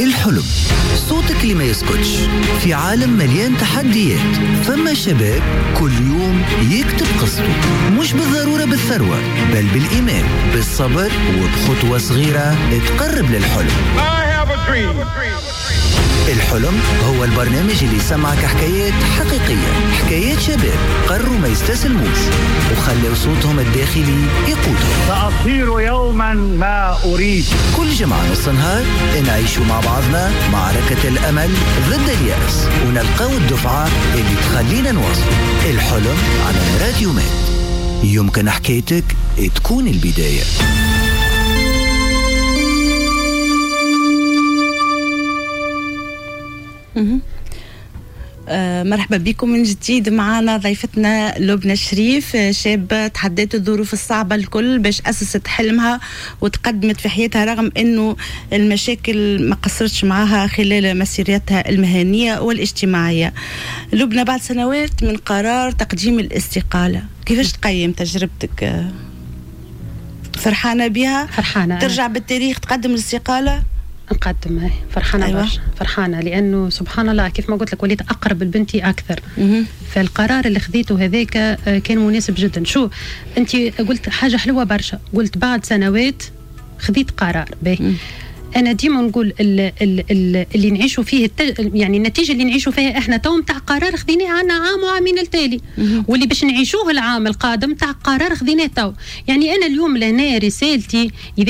الحلم، صوتك اللي ما يسكتش في عالم مليان تحديات. فما شباب كل يوم يكتب قصته، مش بالضرورة بالثروة، بل بالإيمان، بالصبر، وبخطوة صغيرة تقرب للحلم. الحلم هو البرنامج اللي يسمعك حكايات حقيقية، حكايات شباب قرروا ما يستسلموش وخلوا صوتهم الداخلي يقودهم. سأصير يوما ما أريد. كل جمعة نص نهار نعيشوا مع بعضنا معركة الأمل ضد اليأس، ونلقاو الدفعة اللي تخلينا نواصل. الحلم على راديو ماد، يمكن حكايتك تكون البداية. مرحبا بكم من جديد. معنا ضيفتنا لبنى شريف، شابة تحدت الظروف الصعبة الكل باش أسست حلمها وتقدمت في حياتها، رغم أنه المشاكل ما قصرتش معها خلال مسيرتها المهنية والاجتماعية. لبنى، بعد سنوات من قرار تقديم الاستقالة، كيفاش تقيم تجربتك؟ فرحانة بها؟ فرحانة. ترجع بالتاريخ تقدم الاستقالة؟ نقدم، فرحانة. أيوة. برشا فرحانة، لأنه سبحان الله كيف ما قلت لك وليت أقرب لبنتي أكثر. فالقرار اللي خذيته هذاك كان مناسب جدا. شو أنت قلت حاجة حلوة برشا، قلت بعد سنوات خذيت قرار باهي. أنا ديما نقول اللي نعيشوا فيه يعني النتيجة اللي نعيشوا فيها إحنا تو نتاع قرار خذيناه عنا عام وعامين التالي، واللي باش نعيشوه العام القادم تاع قرار خذيناه تو. يعني أنا اليوم لهنا رسالتي، إذا